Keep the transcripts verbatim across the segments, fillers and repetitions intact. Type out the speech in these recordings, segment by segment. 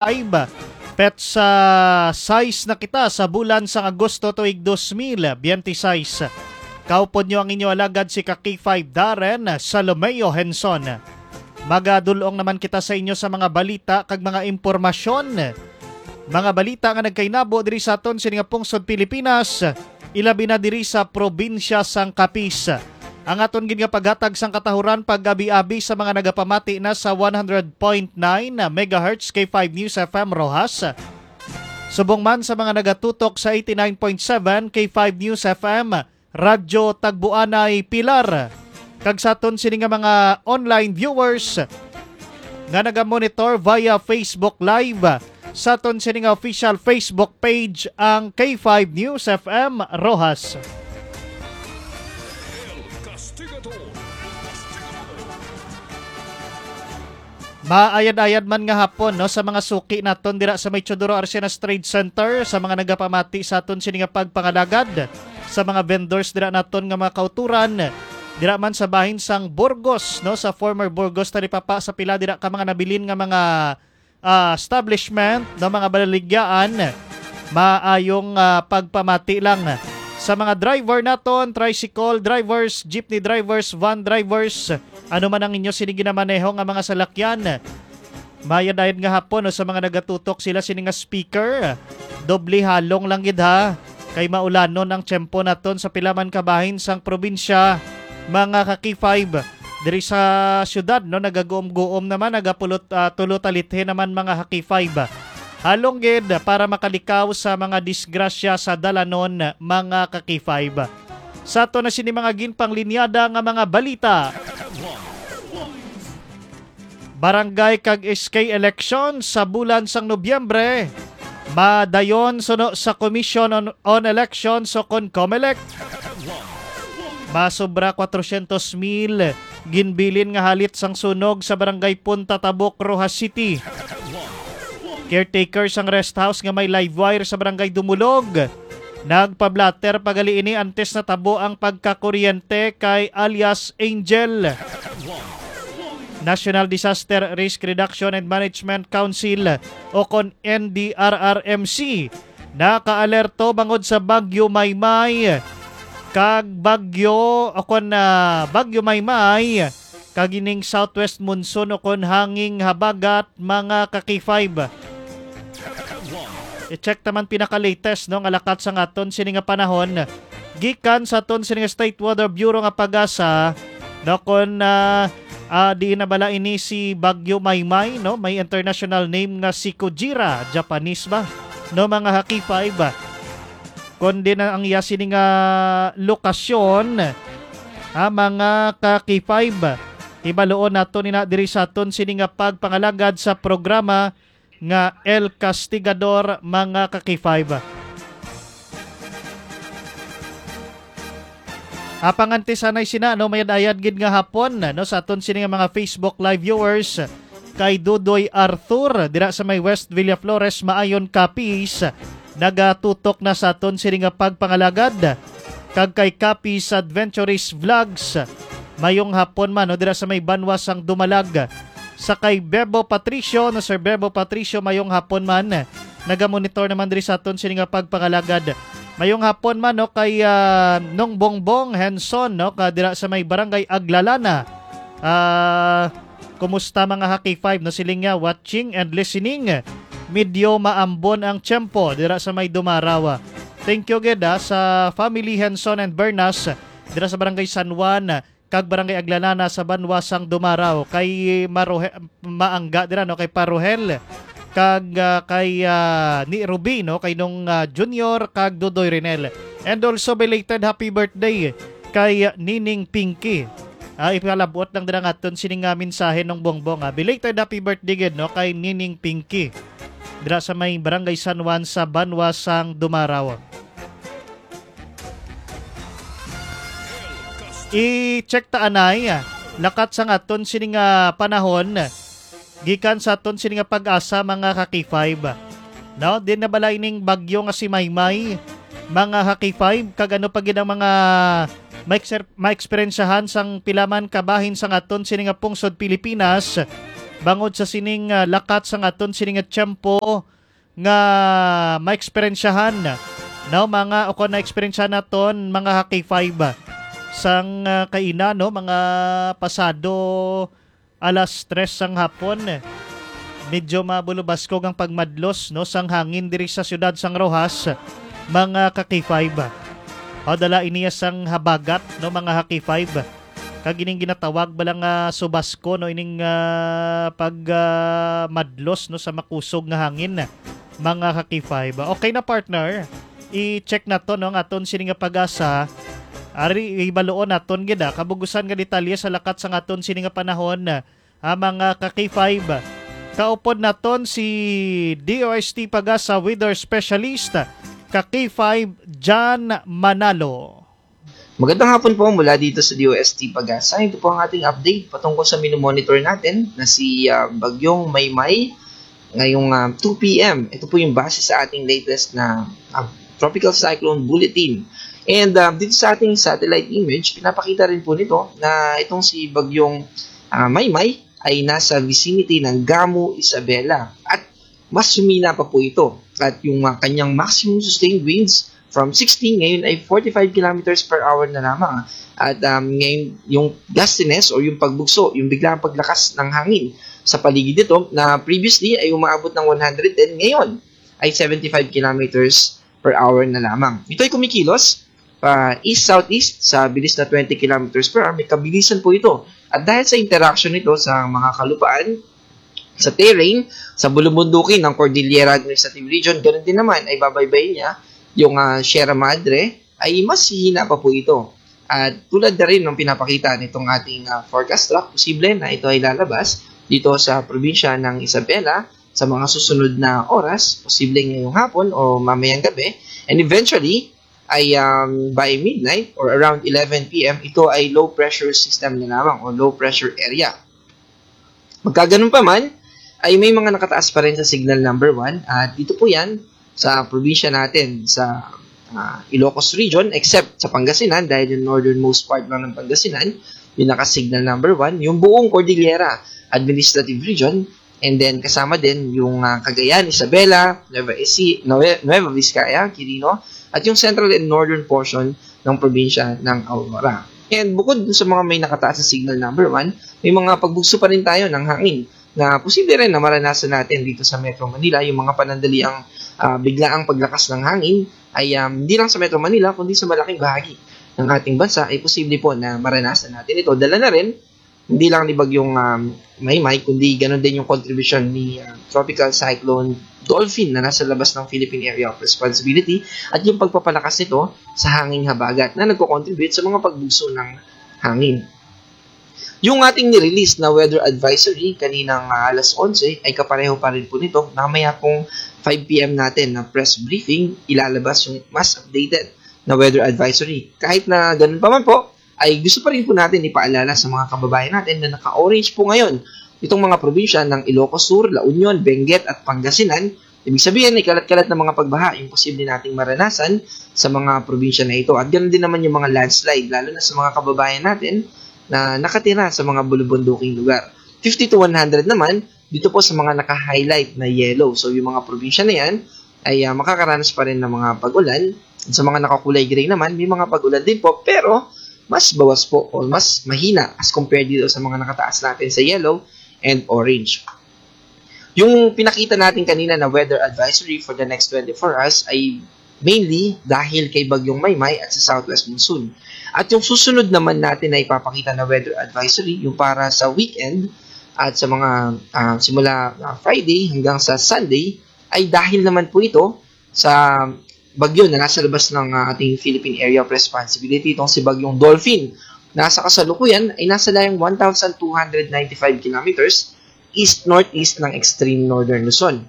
five. Petsa sais na kita sa bulan sang Agosto tuig dos mil biyente sais. Kaupod nyo ang inyo alagad si ka K five Darren Salomeo Henson. Magadul-ong naman kita sa inyo sa mga balita kag mga impormasyon. Mga balita nga nagkainabo diri sa aton sini nga pungsod Pilipinas, ilabi na diri sa probinsya sang Capiz. Ang aton gid nga paghatag sang katahuran pag-abi-abi sa mga nagapamati na sa one hundred point nine megahertz K five News F M Roxas. Subong man sa mga nagatutok sa eighty-nine point seven K five News F M, Radyo Tagbuanay Pilar. Kag sa aton sini nga mga online viewers nga nagamonitor via Facebook Live, sa aton sini nga official Facebook page ang K five News F M Roxas. Maayad-ayad man nga hapon, no, sa mga suki naton dira sa may Teodoro Arcenas Trade Center, sa mga nagapamati sa aton sini nga pagpangalagad, sa mga vendors dira naton nga mga kauturan, dira man sa bahin sang Burgos, no, sa former Burgos Talipapa, sa pila dira ka mga nabilin nga mga, ah, establishment, no, mga balaligyaan, maayong, ah, pagpamati lang sa mga driver naton, tricycle drivers, jeepney drivers, van drivers, ano man ang inyo sini ginamaneho nga mga salakyan. Mayad-ayad nga hapon, no, sa mga nagatutok sila sini nga speaker. Doble halong lang gid, ha, kay maulanon ang tiyempo naton sa pila man ka bahin sang probinsya, mga ka-K five. Diri sa syudad, no, nagaguom-guom naman, nagapulot, ah, tulo talithe naman, mga ka-K five. Halong gid para makalikaw sa mga disgrasya sa dalanon, mga ka-K five. Sa ato na sini mga ginpanglinyada nga mga balita. Barangay kag S K election sa bulan sang Nobyembre madayon suno sa Commission on, on Elections o kon COMELEC. Masobra kwatrosyentos mil ginbilin nga halit sang sunog sa Barangay Punta Tabuk, Roxas City. Caretaker sang rest house nga may live wire sa Barangay Dumulog nagpablatter pa gali ini antes natabo ang pagkakuryente kay alias Angel. National Disaster Risk Reduction and Management Council o kon N D R R M C nakaalerto bangod sa Bagyo Maymay kag Bagyo o kon, ah, Bagyo Maymay kag ining southwest monsoon o kon hanging habagat, mga ka-K five. I-check naman pinaka-latest, no, nga lakat sang aton sini nga panahon gikan sa aton sini nga State Weather Bureau nga PAGASA, no, kon, ah, ah, diin na bala ini si Bagyo Maymay, no? May international name nga si Kujira, Japanese ba? No, mga ka-K five. Kundi na ang iya sini nga lokasyon, ha, mga ka-K five. Hibaluon nato ni na diri sa aton sini nga pagpangalagad sa programa nga El Castigador, mga ka-K five. Apang antes anay sina, no, mayad-ayad gid nga hapon, no, sa aton sini nga mga Facebook Live viewers, kay Dudoy Arthur dira sa may West Villaflores, Maayon, Capiz, nagatutok na sa aton sini nga pagpangalagad, kag kay Capiz Adventurist Vlogs, mayong hapon man, no, dira sa may banwa sang Dumalag. Sa kay Bebo Patricio, no, Sir Bebo Patricio, mayong hapon man. Nagamonitor naman diri sa aton sini nga pagpangalagad. Mayong hapon man, no, kay, ah, Nong Bongbong Henson, no, ka dira sa may Barangay Aglalana. Ah, kumusta, mga ka-K five, no? Siling niya, watching and listening. Medyo maambon ang tiyempo dira sa may Dumaraw. Thank you gid, ah, sa family Henson and Bernas dira sa Barangay San Juan kag Barangay Aglalana sa banwa sang Dumaraw. Kay Marohe-, maangga dira, no, kay Parohel kag, ah, kay, ah, ni Ruby, no, kay Nong, ah, Junior kag Dudoy Renel. And also belated happy birthday kay Nining Pinky. Ah, ipalabot lang dira nga aton sining, ah, mensahe, Nong Bongbong, ah. Belated happy birthday gid, no, kay Nining Pinky dira sa may Barangay San Juan sa banwa sang Dumaraw. I-check ta anay, lakat sang aton sini nga panahon, gikan sa aton sini nga PAGASA, mga ka-K five. No, din na bala ining bagyo nga si Maymay, mga ka-K five, kag ano pa gid ang mga maekser-, maeksperiensyahan sang pila man ka bahin sang aton sini nga pungsod Pilipinas, bangod sa sining, ah, lakat sang aton sini nga tiyempo nga maeksperiensyahan, no, mga, o kon naeksperiensyahan naton, mga ka-K five, sang, ah, kaina, no, mga pasado alas tres sang hapon. Medyo mabulubaskog ang pagmadlos, no, sang hangin diri sa siyudad sang Roxas, mga ka-K five. O, dala iniya sang habagat, no, mga ka-K five. Kag ining ginatawag bala nga subasko, no, ining, ah, pag, ah, madlos, no, sa makusog nga hangin, mga ka-K five. Okay na, partner. I-check naton, no, ang aton sini nga PAGASA. Ari, ibaluon naton gid, ah, kabugusan nga detalye sa lakat sang aton sini nga panahon, ah, mga ka-K five. Kaupod naton si D O S T PAGASA weather specialist, ka-K five, John Manalo. Magandang hapon po mula dito sa D O S T PAGASA. Ito po ang ating update patungkol sa minomonitor natin na si, ah, Bagyong Maymay ngayong, ah, two P M. Ito po yung base sa ating latest na, ah, Tropical Cyclone Bulletin. And, ah, dito sa ating satellite image, pinapakita rin po nito na itong si Bagyong, ah, Maymay ay nasa vicinity ng Gamu, Isabela. At mas humina pa po ito. At yung, ah, kanyang maximum sustained winds from sixty, ngayon ay forty-five kilometers per hour na lamang. At, um, ngayon, yung gustiness o yung pagbugso, yung biglang paglakas ng hangin sa paligid nito na previously ay umaabot ng one hundred ten, ngayon ay seventy-five kilometers per hour na lamang. Ito ay kumikilos pa east-southeast sa bilis na twenty kilometers per hour. May kabilisan po ito. At dahil sa interaction nito sa mga kalupaan, sa terrain, sa bulubundukin ng Cordillera Administrative Region, ganun din naman ay babaybayin niya yung, ah, Sierra Madre, ay mas hihina pa po ito. At tulad na rin ng pinapakita nitong ating, ah, forecast track, posible na ito ay lalabas dito sa probinsya ng Isabela sa mga susunod na oras, posible ngayong hapon o mamayang gabi. And eventually, ay, um, by midnight or around eleven P M, ito ay low pressure system na lamang o low pressure area. Magkaganon pa man, ay may mga nakataas pa rin sa signal number one, at dito po yan sa probinsya natin, sa, ah, Ilocos Region, except sa Pangasinan, dahil yung northernmost part lang ng Pangasinan, yung naka-signal number one, yung buong Cordillera Administrative Region, and then kasama din yung, ah, Cagayan, Isabela, Nueva Ecija, Nue-, Nueva Vizcaya, Quirino, at yung central and northern portion ng probinsya ng Aurora. And bukod dun sa mga may nakataas na signal number one, may mga pagbugso pa rin tayo ng hangin na posible rin na maranasan natin dito sa Metro Manila, yung mga panandaliang, ah, biglaang paglakas ng hangin ay, um, hindi lang sa Metro Manila, kundi sa malaking bahagi ng ating bansa ay posible po na maranasan natin ito. Dala na rin, hindi lang ni Bagyong, um, Maymay, kundi ganun din yung contribution ni, uh, Tropical Cyclone Dolphin na nasa labas ng Philippine Area of Responsibility at yung pagpapalakas nito sa hanging habagat na nagko-contribute sa mga pagbugso ng hangin. Yung ating nirelease na weather advisory kaninang, ah, alas onse ay kapareho pa rin po nito. Mamaya pong five P M natin na press briefing, ilalabas yung mas updated na weather advisory. Kahit na ganun pa man po, ay gusto pa rin po natin ipaalala sa mga kababayan natin na naka-orange po ngayon itong mga probinsya ng Ilocos Sur, La Union, Benguet at Pangasinan. Ibig sabihin, may kalat-kalat na mga pagbaha yung posible nating maranasan sa mga probinsya na ito. At ganoon din naman yung mga landslide, lalo na sa mga kababayan natin na nakatira sa mga bulubunduking lugar. Fifty to one hundred naman, dito po sa mga naka-highlight na yellow. So, yung mga probinsya na yan ay, ah, makakaranas pa rin ng mga pag-ulan. Sa mga nakakulay gray naman, may mga pag-ulan din po, pero mas bawas po o mas mahina as compared dito sa mga nakataas natin sa yellow and orange. Yung pinakita natin kanina na weather advisory for the next twenty-four hours ay mainly dahil kay Bagyong Maymay at sa southwest monsoon. At yung susunod naman natin na ipapakita na weather advisory, yung para sa weekend at sa mga, ah, simula, ah, Friday hanggang sa Sunday, ay dahil naman po ito sa bagyo na nasa labas ng, ah, ating Philippine Area of Responsibility, itong si Bagyong Dolphin. Nasa kasalukuyan ay nasa layang one thousand two hundred ninety-five kilometers east-northeast ng extreme northern Luzon.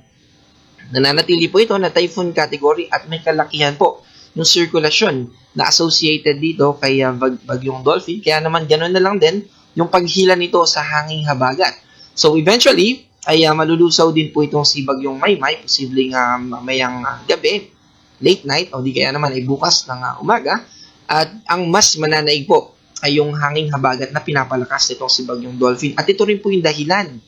Nananatili po ito na typhoon category at may kalakihan po yung sirkulasyon na associated dito kay, ah, bag-, Bagyong Dolphin. Kaya naman, ganun na lang din yung paghila nito sa hanging habagat. So, eventually, ay, ah, malulusaw din po itong si Bagyong Maymay, posibleng, ah, mamayang, ah, gabi, late night, o di kaya naman ay bukas ng, ah, umaga. At ang mas mananaig po ay yung hanging habagat na pinapalakas nitong si Bagyong Dolphin. At ito rin po yung dahilan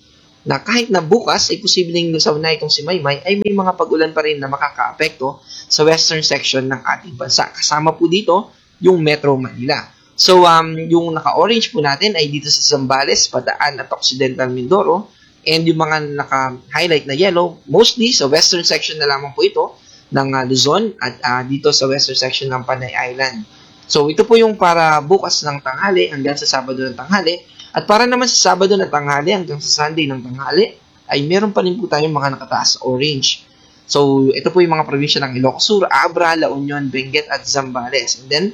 na kahit na bukas ay posibleng lusaw na itong si Maymay, ay may mga pag-ulan pa rin na makakaapekto sa western section ng ating bansa. Kasama po dito yung Metro Manila. So, um, yung naka-orange po natin ay dito sa Zambales, Bataan at Occidental Mindoro. And yung mga naka-highlight na yellow, mostly sa western section na lamang po ito ng, ah, Luzon at, ah, dito sa western section ng Panay Island. So, ito po yung para bukas ng tanghali hanggang sa Sabado ng tanghali. At para naman sa Sabado ng tanghali hanggang sa Sunday ng tanghali, ay meron pa rin po tayong mga nakataas sa orange. So, ito po yung mga probinsya ng Ilocos Sur, Abra, La Union, Benguet, at Zambales. And then,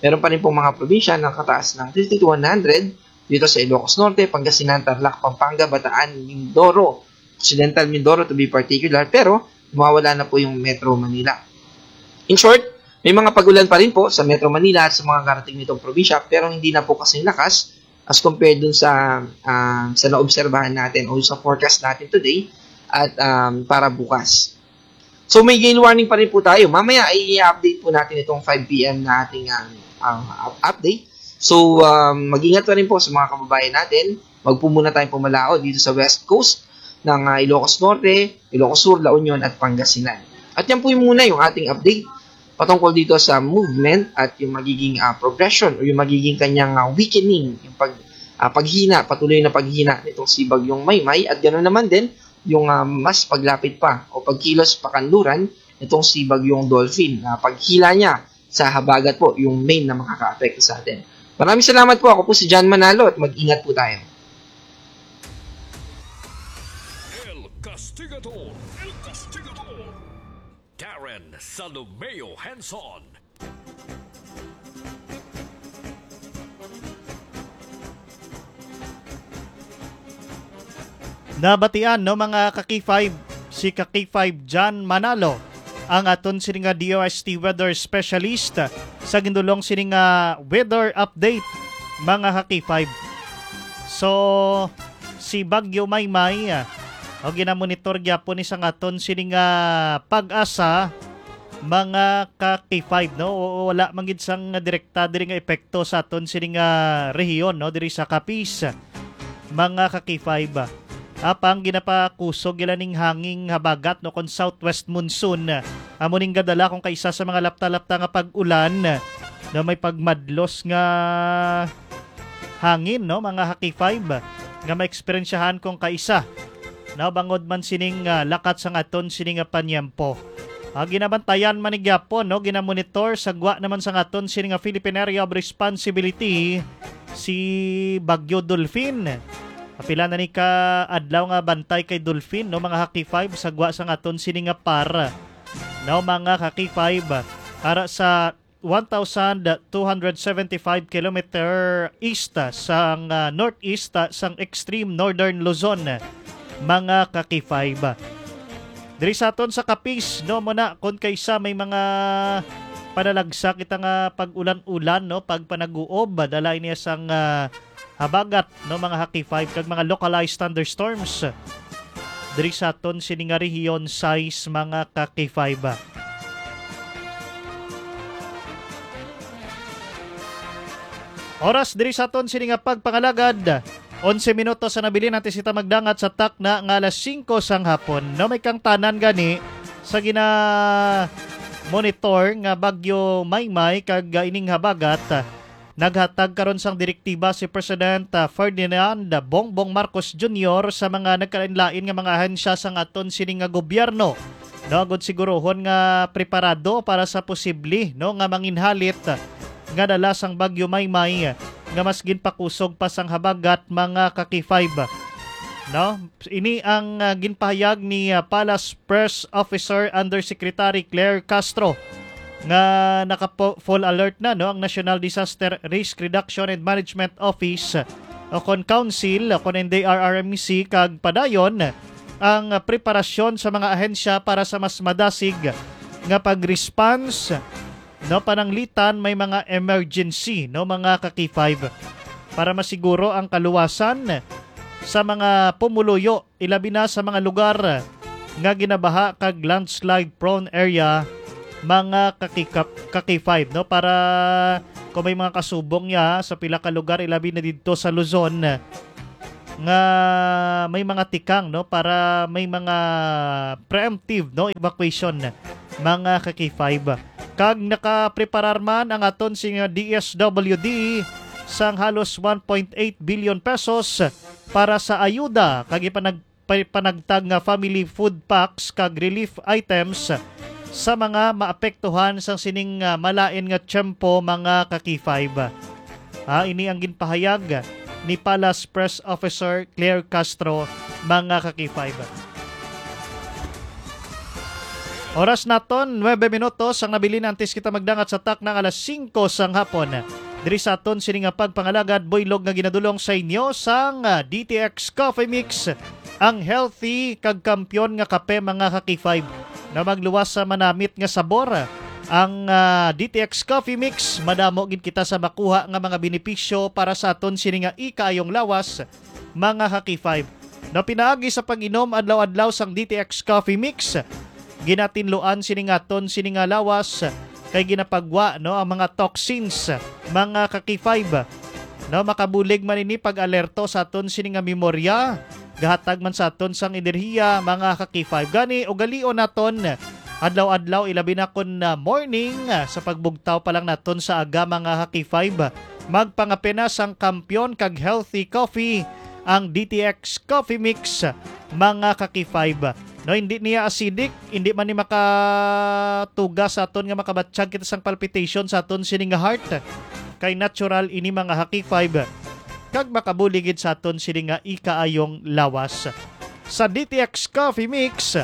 meron pa rin pong mga probinsya na nakataas ng fifty to one hundred dito sa Ilocos Norte, Pangasinan, Tarlac, Pampanga, Bataan, Mindoro, Occidental Mindoro to be particular, pero mawawala na po yung Metro Manila. In short, may mga pag-ulan pa rin po sa Metro Manila at sa mga karating nitong probinsya, pero hindi na po kasing lakas as compared dun sa, ah, sa naobserbahan natin o sa forecast natin today at, um, para bukas. So, may gale warning pa rin po tayo. Mamaya ay i-update po natin itong five P M na ating, um, uh, up- update. So, um, mag-ingat pa rin po sa mga kababayan natin. Wag po muna tayong pumalaot dito sa West Coast ng, uh, Ilocos Norte, Ilocos Sur, La Union at Pangasinan. At yan po yung muna yung ating update patungkol dito sa movement at yung magiging, uh, progression o yung magiging kanyang, uh, weakening, yung pag, uh, paghina, patuloy na paghina nitong si Bagyong Maymay at ganoon naman din yung, ah, mas paglapit pa o pagkilos pakanluran nitong si Bagyong Dolphin na paghila niya sa habagat po yung main na makakaapekto sa atin. Maraming salamat po. Ako po si John Manalo at mag-ingat po tayo. El Castigador. El Castigador. Darren Salomeo Henson. Nabatian, no, mga ka-K five, si ka-K five John Manalo, ang aton sini nga D O S T weather specialist, sa gindulong sini nga weather update, mga ka-K five. So, si Bagyo Maymay, ah, o ginamonitor gyapon ni sang aton sini nga PAGASA, mga ka-K five, no? O, wala man gid sang direkta diri nga epekto sa aton sini nga rehiyon, no? Diri sa Capiz, mga ka-K five. Apang ginapakusog ila ning hanging habagat, no, kon southwest monsoon. Amo ning gadala kon kaisa sa mga lapta-lapta nga pag-ulan, no, may pagmadlos nga hangin, no, mga ka-K five, nga maeksperiensyahan kon kaisa, no, bangod man sining, ah, lakat sang aton sini nga panyempo. Ah, ginabantayan man ni gyapon, no, ginamonitor sa gwa naman sang aton sini nga Philippine Area of Responsibility si Bagyo Dolphin. Apila na ni ka adlaw nga bantay kay Dolphin, no, mga ka-K five, sa gwa sang aton sini nga par, no, mga ka-K five, ara sa one thousand two hundred seventy-five kilometer east sang, ah, northeast, ah, sang extreme northern Luzon, mga ka-K five. Diri sa aton sa Capiz, no, mo na kon kaisa may mga panalagsa kita nga pag-ulan-ulan, no, pagpanaguob, dala ini sang, ah, habagat, no, mga ka-K five, kag mga localized thunderstorms diri sa aton sini nga rehiyon, sais, mga ka-K five. Oras diri sa aton sini nga pagpangalagad, onse minutos sa nabilin antes kita magdangat sa takna nga alas singko sang hapon. No, may kangtanan gani sa gina-monitor nga Bagyo Maymay kag, ah, ining habagat. Naghatag karon sang direktiba si President, ah, Ferdinand Bongbong Marcos Junior sa mga nagkalainlain nga mga ahensya sang aton sini nga gobyerno, no, agud sigurohon nga preparado para sa posible, no, nga manginhalit nga dala sang Bagyo Maymay nga mas ginpakusog pa sang habagat, mga ka-K five, no? Ini ang, ah, ginpahayag ni, ah, Palace Press Officer Undersecretary Claire Castro nga naka-full alert na, no, ang National Disaster Risk Reduction and Management Office o kon Council o kon N D R R M C, kag padayon ang preparasyon sa mga ahensya para sa mas madasig nga pag-response, no, pananglitan may mga emergency, no, mga ka-K five, para masiguro ang kaluwasan sa mga pumuluyo, ilabi na sa mga lugar nga ginabaha kag landslide prone area, mga ka-K five, no, para kung may mga kasubong niya sa pila ka lugar, ilabi na didto sa Luzon, nga may mga tikang, no, para may mga preemptive, no, evacuation, mga ka-K five. Kag nakapreparar man ang aton sing D S W D sang halos one point eight billion pesos para sa ayuda kag ipanag-, pa-, panagtag nga family food packs kag relief items sa mga maapektuhan sang sining, ah, malain nga tiyempo, mga ka-K five. Ah, ini ang ginpahayag ni Palace Press Officer Claire Castro, mga ka-K five. Oras naton, nuebe minutos ang nabilin antes kita magdangat sa takna nga alas singko sang hapon. Diri sa aton sini nga pagpangalagad, buylog nga ginadulong sa inyo sang, ah, D T X Coffee Mix, ang healthy kag kampiyon nga kape, mga ka-K five. Na magluwas sa manamit nga sabor ang, ah, D T X Coffee Mix, madamo gid kita sa makuha nga mga benepisyo para sa aton sini nga ikaayong lawas, mga ka-K five. No, pinaagi sa pag-inom adlaw-adlaw sang D T X Coffee Mix, ginatinluan sini nga aton sini nga lawas kay ginapagwa, no, ang mga toxins, mga ka-K five. No, makabulig man ini pag-alerto sa aton sini nga memorya, gahatag man sa aton sang enerhiya, mga ka-K five. Gani, ugalion naton adlaw-adlaw, ilabi na kon, ah, morning, ah, sa pagbugtaw pa lang naton sa aga, mga ka-K five. Magpangape na sang kampiyon kag healthy coffee, ang D T X Coffee Mix, mga ka-K five. No, hindi niya acidic, hindi man ni makatuga sa aton nga makabatyag kita sang palpitation sa aton sini nga heart. Kay natural ini, mga ka-K five, kag makabulig gid sa aton sini nga ikaayong lawas. Sa D T X Coffee Mix,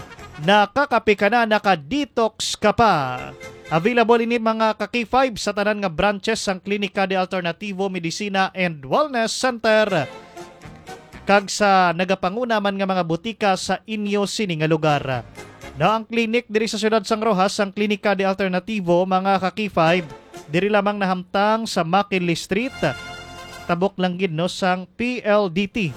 nakakape ka na, naka-detox ka pa. Available ini, mga ka-K five, sa tanan nga branches sang Klinika de Alternativo Medicina and Wellness Center kag sa nagapanguna man nga mga butika sa inyo sini nga lugar. Na ang klinik diri sa siyudad sang Roxas, ang Klinika de Alternativo, mga ka-K five, diri lamang nahamtang sa McKinley Street, tabok lang gid, no, sang P L D T,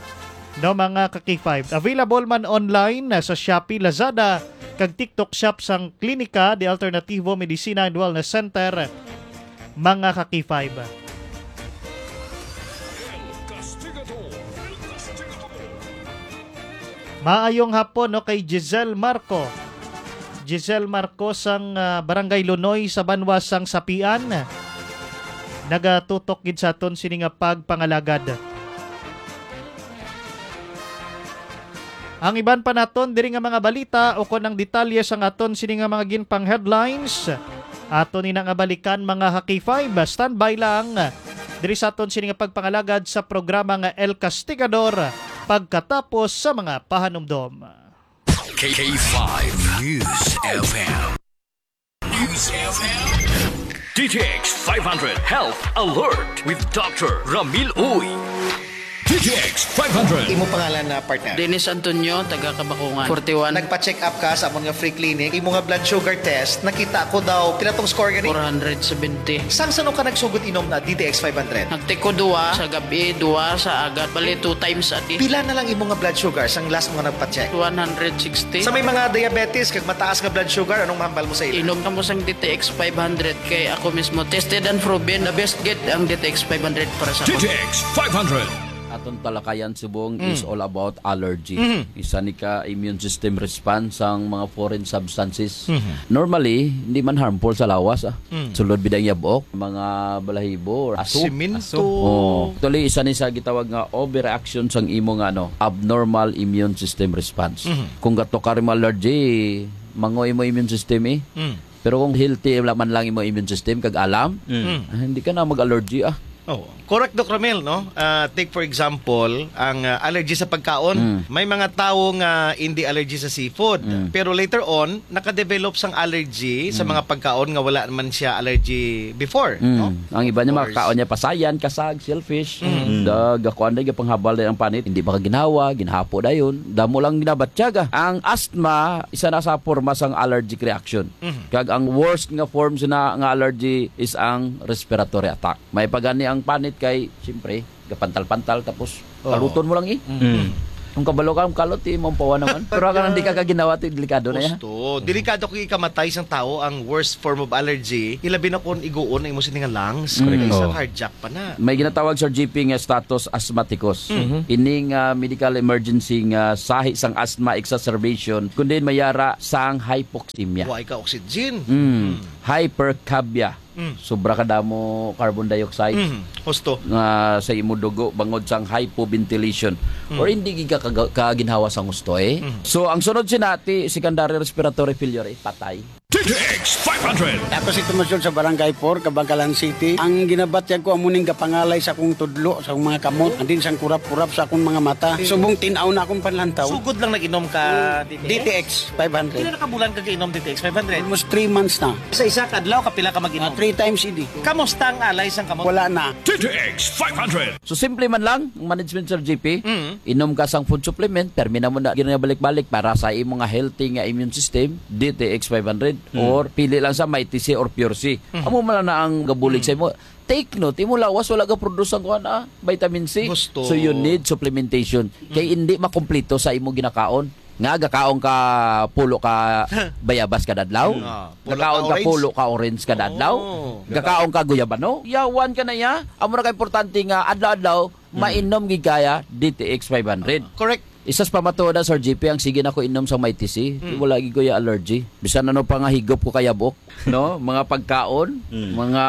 no, mga ka-K five. Available man online na sa Shopee, Lazada, kag TikTok shop sang Klinika de Alternativo Medicina and Wellness Center, mga ka-K five. Maayong hapon, no, kay Giselle Marco. Giselle Marco sang, ah, Barangay Lunoy sa banwa sang Sapian. Nagatutok gid sa aton sini nga pagpangalagad. Ang iban pa naton diri nga mga balita ukon ang detalye sang aton sini nga mga ginpang headlines, aton ina nga balikan, mga ka-K five. Standby lang diri sa aton sini nga pagpangalagad sa programa nga El Castigador pagkatapos sa mga pahanumdom. K five News F M. News F M. D T X five hundred Health Alert with Doctor Ramil Uy. D T X five hundred. Imo pangalan na, partner? Dennis Antonio, taga Kabakungan, forty-one. Nagpa-check up ka sa amon nga free clinic. Imo nga blood sugar test, nakita ko daw, pila tong score gani? Four hundred seventy. Sang sano ka nagsugod inom na D T X five hundred? Nagtiko duwa sa gabi, duwa sa agad. Bali, two times a day. Pila na lang imo nga blood sugar sang last mo nga nagpa-check? One hundred sixty. Sa may mga diabetes kag mataas nga blood sugar, anong mahambal mo sa ila? Inom kamo sang D T X five hundred kay ako mismo tested and proven. The best gid ang D T X five hundred para sa D T X five hundred. Aton talakayan subong Mm. is all about allergy. Mhm. Isa ni ka immune system response sang mga foreign substances. Mhm. Normally, hindi man harmful sa lawas, ah. Mm. Sulod bida ang yabok, mga balahibo, or aso. Simento. Oh. Actually, isa ni sa gitawag nga overreaction sang imo nga, ano, abnormal immune system response. Mhm. Kung gato ka rin allergy, mangoy mo immune system eh. Mm. Pero kung healthy wala man lang imo immune system, kag alam, Mm. ah, hindi ka na mag-allergy, ah. Oh, correct, Doc Ramil, no? Ah, take for example, ang, ah, allergy sa pagkaon. Mm. May mga tawo nga hindi allergy sa seafood, Mm. pero later on nakadevelop sang allergy sa Mm. mga pagkaon nga wala man siya allergy before, Mm. no? Ang iba niya, Of course. Makakaon niya pasayan, kasag, shellfish. Mm. Dag, ako anday gapanghabal din ang panit, hindi ba ka ginawa, ginahapo dayon. Damo lang ginabatyag, ah. Ang asthma, isa na sa forma sang allergic reaction. Mhm. Kag ang worst nga form sina nga allergy is ang respiratory attack. May pagani ang panit kay, siyempre, gapantal-pantal, tapos Oo. kaluton mo lang eh. Mm. Mm. Kung kabalo ka, ang kalot, eh, mampawa naman. Pero ka nang di ka kaginawa, ti, delikado na yan. Gusto. Delikado kung ikamatay sang tao ang worst form of allergy. Ilabi na kung iguon ang imo sini nga lungs. Correct. Isa cardiac pa na. May ginatawag, Sir G P, nga status asthmaticus. Mhm. Ining, ah, medical emergency nga sahi sang asthma exacerbation, kundi mayara sang hypoxemia. Wa ka oxygen. Mm. Hypercapnia. Mm. Sobra ka damo carbon dioxide. Mm. Husto. Nga sa imo dugo bangod sang hypoventilation. Mm. Or hindi gid ka kaga-, kaginhawa sang husto, eh. Mm. So, ang sunod sina ti secondary respiratory failure, eh, patay. D T X five hundred. Ako si Tomas Jun sa Barangay four, Kabankalan City. Ang ginabatyag ko amo ning gapangalay sa akong tudlo, sa akong mga kamot, and then sang kurap-kurap sa akong mga mata. Subong tin-aw na akong panlantaw. Sugod lang nag-inom ka D T X? D T X five hundred. Pila na ka bulan ka kainom D T X five hundred? Almost three months na. Sa isa ka adlaw, kapila ka mag-inom? Ah, three times a day. Kamusta ang alay sang kamot? Wala na. D T X five hundred. So, simple man lang ang management, Sir G P. Mm. Inom ka sang food supplement, permi na mo na ginabalik-balik para sa imo nga healthy nga immune system, D T X five hundred, Mm. or pili lang sa Mighty C or Pure C. Mm. Amo man lang na ang gabulig Mm. sa imo. Take note, imo lawas wala ga produce ang kuan, ah, vitamin C. Gusto. So, you need supplementation. Kay Mm. hindi makumpleto sa imo ginakaon. Nga gakaon ka pulo ka bayabas kada adlaw. Mm. Ah, pulo ka Gakaon ka orange. pulo ka orange kada adlaw. Oo. Gakaon ka guyabano. Yawan ka na ya. Amo na ka importante nga adlaw-adlaw Mm. mainom gid kaya D T X five hundred. Correct. Isas pamatuod na, Sir G P, ang sige na ko inom sa Mighty C. Mm. Wala gid ko ya allergy. Bisan ano pa nga higop ko kaya buok, no? Mga pagkaon, Mm. mga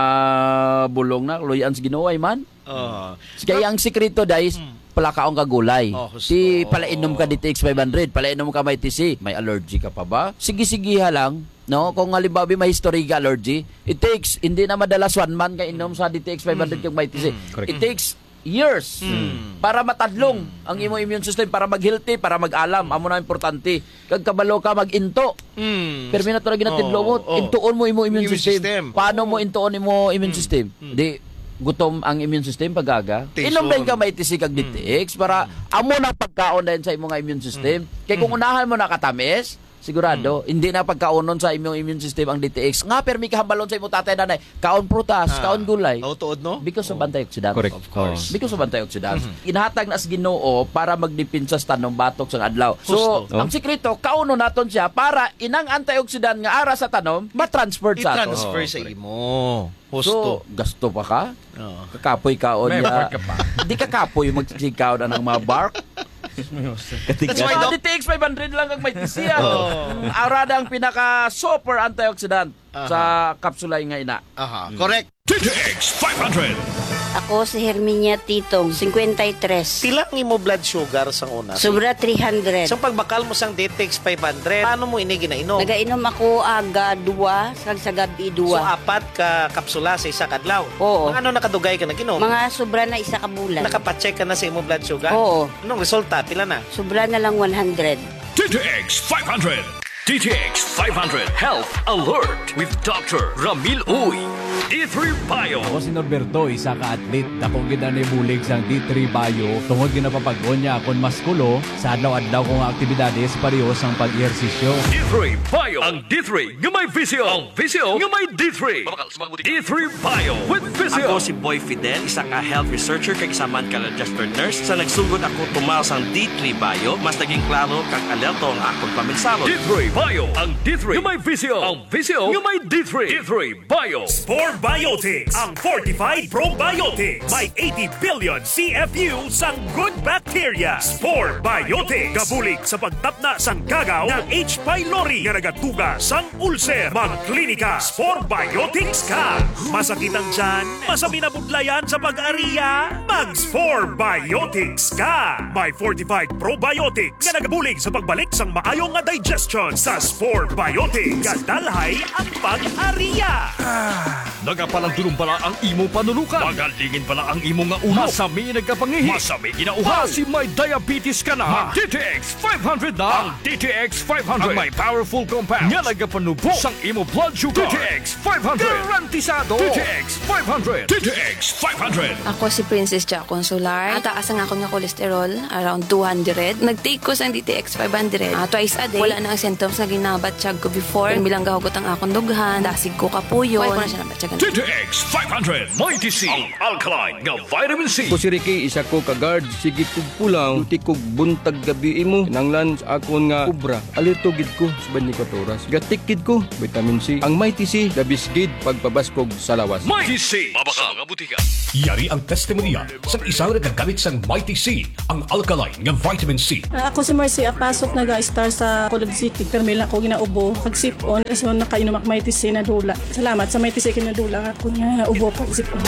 bulong na, luy-an sa Ginoo, ay man. Oo. Kaya ang sikreto, guys, Mm. palakaon ka gulay. Oh, husto. Ti, palainom ka D T X five hundred, palainom ka Mighty C. May allergy ka pa ba? Sige-sige ha lang, no? Kung halimbawa, may history ka allergy, it takes, hindi na madala sa one month ka inom sa D T X five hundred Mm. kag Mighty C. Mm. Correct. It takes years Mm. para matadlong Mm. ang imo immune system, para mag-healthy, para mag-alam. Amo na importante. Kag kabalo ka mag-into. Mm. Permi na to na ginatidlo mo, Oo, oo. intuon mo imo immune Immune system. system. Paano mo Oo. intuon imo immune Mm. system? Mm. Di, gutom ang immune system pag-aga. Tison. Inom dayon ka Mighty C kag Mm. D T X para Mm. amo nang pagkaon dayon sa imo nga immune system. Mm. Kay kung Mm. unahan mo nakatamis, sigurado, Mm. hindi na pagkaonon sa imong immune system ang D T X. Nga, permi kahambalon sa imo tatay, nanay, kaon prutas, Ah. kaon gulay. Oh, tuod, no? Because of Oh. antioxidant. Correct. Of course. Because of antioxidant. Mhm. Ginhatag na sa Ginoo para magdepensa sa tanom batok sa adlaw. So, Husto. ang Oh. sikreto, kaunon naton siya para inang antioxidant nga ara sa tanom, matransfer sa ato. I-transfer Oh, sa correct. imo. Husto. So, gasto pa ka? Oo. Kakapoy ka, May onya. bark ka pa. Di kakapoy, magsigkaw na ng mga bark. That's why, Doc. D T X five hundred lang ang may tisiya. Oo. Ara na ang pinaka super antioxidant Aha. sa kapsula nga ina. Aha, Mm. correct. D T X five hundred. Ako si Herminia Titong, cincuenta y tres. Pila ang imo blood sugar sang una? Sobra three hundred. Sa pagbakal mo sang D T X five hundred, paano mo ini ginainom? Nagainom ako aga dua, kag sa gabi So, dua. apat ka kapsula sa isa ka adlaw? Oo. Mga ano nakadugay ka nag-inom? Mga sobra na isa ka bulan. Nakapacheck ka na sa imo blood sugar? Oo. Anong resulta? Pila na? Sobra na lang one hundred. D T X five hundred. D T X five hundred Health Alert with Doctor Ramil Uy. D three Bio. Ako si Norberto, isa ka athlete. Dako gid ang nahibulig sang D three Bio tungod ginapapag-on niya akon maskulo sa adlaw-adlaw ko nga aktibidades pareho sang pag-ehersisyo. D three Bio. Ang D three nga may Visio. Ang Visio nga may D three. D three Bio with Visio. Ako si Boy Fidel, isa ka health researcher kag isa man ka registered nurse. Sa nagsugod ako tumaw sang D three Bio, mas naging klaro kag alerto ang akon paminsaro. D three Bio, ang D three nga may Visio. Ang Visio nga may D three. D three Bio. Spore Biotics, ang fortified probiotics. May eighty billion C F U sang good bacteria. Spore Biotics. Gabulig sa pagtapna sang gagaw nga H. pylori nga nagatuga sang ulcer. Magklinika Spore Biotics ka. Masakit ang tiyan? Masami na budlayan sa pag-ariya? Mag Spore Biotics ka. May fortified probiotics nga nagabulig sa pagbalik sang maayo nga digestion sa Spore Biotics. Gadalhay ang pag-ariya. Nagapalandulong bala ang imo panunukan? Magalingin bala ang imo nga ulo? Masami nagkapangihi? Masami ginauhaw? Basi may diabetes ka na? Mag D T X five hundred na. Ang D T X five hundred. Ang may powerful compound nga nagapanubo sang imo blood sugar. D T X five hundred. Garantisado. D T X five hundred. D T X five hundred. Ako si Princess Jacon Sular. Ang taas ang akon nga cholesterol, around two hundred. Nag-take ko sang D T X five hundred. Ah, twice a day. Wala na ang symptom. Sa ginabatyag ko before, kung bilang gahugot ang akong dughan, dasig ko kapuyon. Wala ko na siya nabatyagan. D T X five hundred Mighty C, ang alkaline nga vitamin C. Ako si Ricky, isa ko ka guard. Sige kog pulaw, duty kog buntag gabi imo. Kinahanglan sa akon nga obra. Alerto gid ko sa twenty-four oras. Gatik gid ko, vitamin C. Ang Mighty C, the best gid pagpabaskog sa lawas. Mighty C, mabakal sa mga butika. Yari ang testimonya sang isa nga nagagamit sang Mighty C, ang alkaline nga vitamin C. Ah, ako si Mercy Apasok, naga-star sa Colod City. Pero may lang ako ginaubo, pag sipon, so nakainom ako Mighty C, nadula. Salamat sa Mighty C, kinadula ako nga ubo, pag sipon.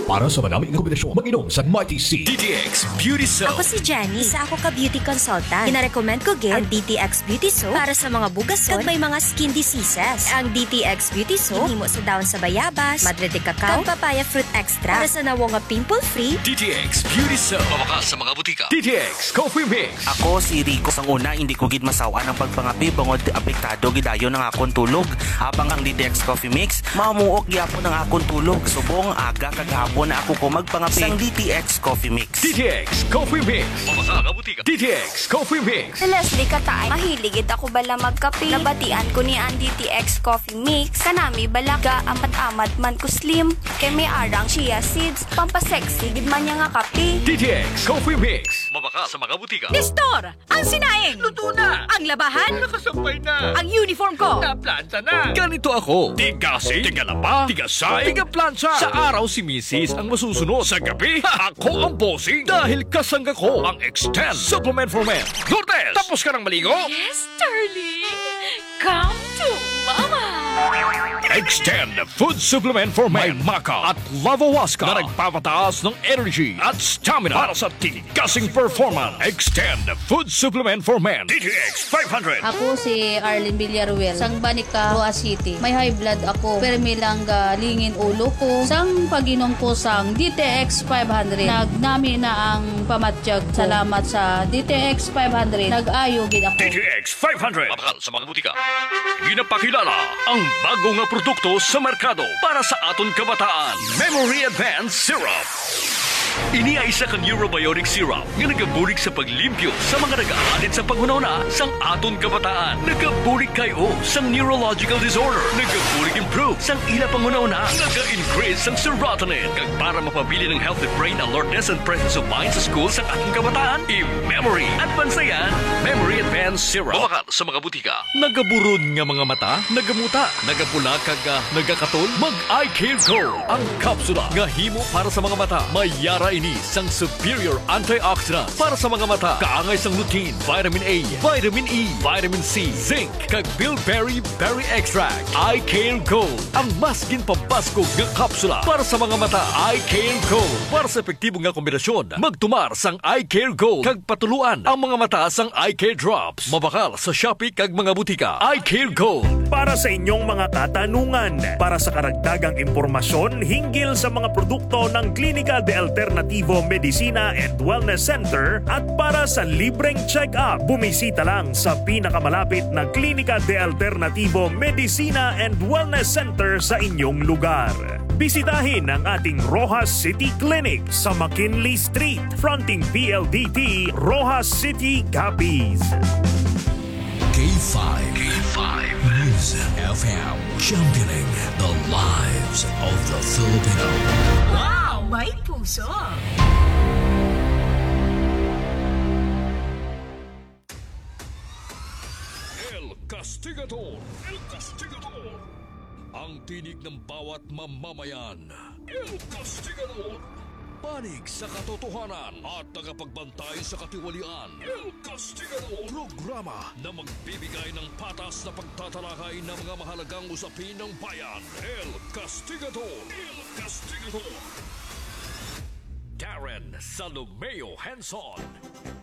Para sa manami nga kombinasyon, mag-inom sa Mighty C. D T X Beauty Soap. Ako si Jenny. Isa ako ka beauty consultant. Ginarecommend ko gid ang D T X Beauty Soap para sa mga bugason kag may mga skin diseases. Ang D T X Beauty Soap ginhimo sa dahon sa bayabas, madre de cacao, kag papaya fruit extract para sa nawong nga pimple-free. D T X Beauty Soap. Mabakal sa mga butika. D T X Coffee Mix. Ako si Rico. Sang una, hindi ko gid masawan ang pagpangape bangod apektado gid dayon ang akon tulog. Habang ang D T X Coffee Mix, mamuok gyapon ang akon tulog. Subong aga kag hapon na ako ko magpangape sang D T X Coffee Mix. D T X Coffee Mix. Mabakal sa mga butika. D T X Coffee Mix. Si Leslie Katay, mahilig gid ako bala magkape. Nabatian ko ni ang D T X Coffee Mix. Kanami bala ga amad-amad man ko slim. Kay may arang chia seeds, pampasexy gid man niya nga kape. D T X Coffee Mix. Mabakal sa mga butika. Nestor, ang sinaing. Luto na. Ang labahan. Nakasampay na. Ang uniform ko. Naplanta na. Ganito ako. Tigasig, tigalaba, tigasay, tigaplantsa. Sa araw si misis ang masusunod. Sa gabi, ako ang bossing. Dahil kasangga ko ang Extend Supplement for Men. Lourdes, tapos ka nang maligo? Yes, darling. Come to Mama. Extend Food Supplement for Men. May maca at lavawaska na nagpapataas ng energy at stamina para sa tigasing performance. Extend Food Supplement for Men. D T X five hundred. Ako si Arlene Villaruel, sang Banica, Roxas City. May high blood ako, permi lang galingin ulo ko. Sang pag-inom ko sang D T X five hundred, nagnami na ang pamatyag ko. Salamat sa D T X five hundred, nag-ayo gid ako. D T X five hundred. Mabakal sa mga butika. Ginapakilala ang bago nga produkto sa merkado para sa aton kabataan. Memory Advance Syrup. Ini ay isa ka neurobiotic syrup nga nagabulig sa paglimpyo sa mga nagaalit sa panghunahuna sang aton kabataan. Nagabulig kay-o sang neurological disorder. Nagabulig improve sang ila panghunahuna. Naga-increase sang serotonin. Kag para mapabilin ang healthy brain alertness and presence of mind sa school sang aton kabataan, i-memory. Advance na yan. Memory Advance Syrup. Mabakal sa mga butika. Nagaburon nga mga mata, nagamuta, nagapula kag, ah, nagakatol? Mag Eye Care Gold, ang kapsula nga himo para sa mga mata. May yara ini sang superior antioxidants para sa mga mata, kaangay sang lutein, vitamin A, vitamin E, vitamin C, zinc, kag bilberry berry extract. Eye Care Gold, ang mas ginpabaskog nga kapsula para sa mga mata. Eye Care Gold, para sa epektibo nga kombinasyon, magtumar sang Eye Care Gold kag patuluan ang mga mata sang Eye Care Drops. Mabakal sa Shopee kag mga butika. Eye Care Gold. Para sa inyong mga katanungan, para sa karagdagang impormasyon hinggil sa mga produkto ng Klinika de Alternativo Medicina and Wellness Center at para sa libreng check-up, bumisita lang sa pinakamalapit na Klinika de Alternativo Medicina and Wellness Center sa inyong lugar. Bisitahin ang ating Roxas City Clinic sa McKinley Street, fronting P L D T, Roxas City, Capiz. K five. K five News F M, championing the lives of the Filipino. Wow! May puso! El Castigador. El Castigador. Ang tinig ng bawat mamamayan. El Castigador. Panig sa katotohanan at tagapagbantay sa katiwalian. El Castigador. Programa na magbibigay ng patas na pagtatalakay ng mga mahalagang usapin ng bayan. El Castigador. El Castigador. Darren Salomeo Henson.